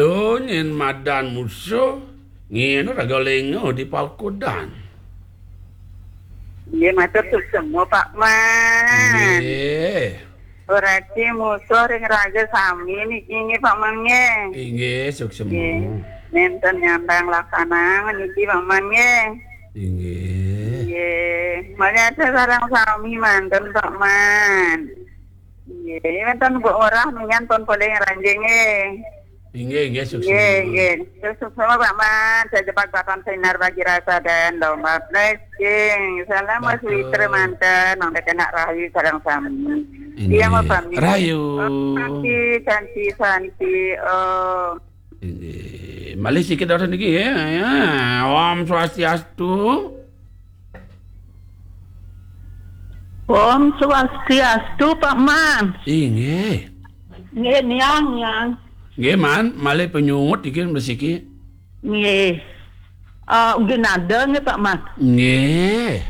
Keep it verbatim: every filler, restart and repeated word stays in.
Tuh, nyen madan musuh, ngiring raga lenga di pagodan. Nggih, matur suksma, Pak Man. Nggih. Urati musuh ring raga sami niki nggih, Pak Man nggih. Inggih, suksma. Nggih. Nenten nyandang laksana niki, Pak Man nggih. Inggih. Nggih. Mangke sareng sami manten, Pak Man. Nggih, wenten Bu Ngurah minyan pun polih ngranjing nggih. Inggih, inggih, suksma. Nggih, nggih. Suksma, Pak Man. Saya cepat papan sinar bagi rasa dan lompat blessing. Salam Mas Betul. Witra manten, nang kena rahayu sareng sami. Inggih. Iya, Mas Fahmi. Rahayu. Om Santi, Santi, Santi, Om. Inggih. Malih sikit dawuh niki ya. Ya. Om Swastiastu. Om Swastiastu, Pak Man. Inggih. Nggih, niang, niang. Nggih, Man, malih penyungut iki mesiki. Nggih. Eh, nggih nada nggih, Pak Man. Nggih.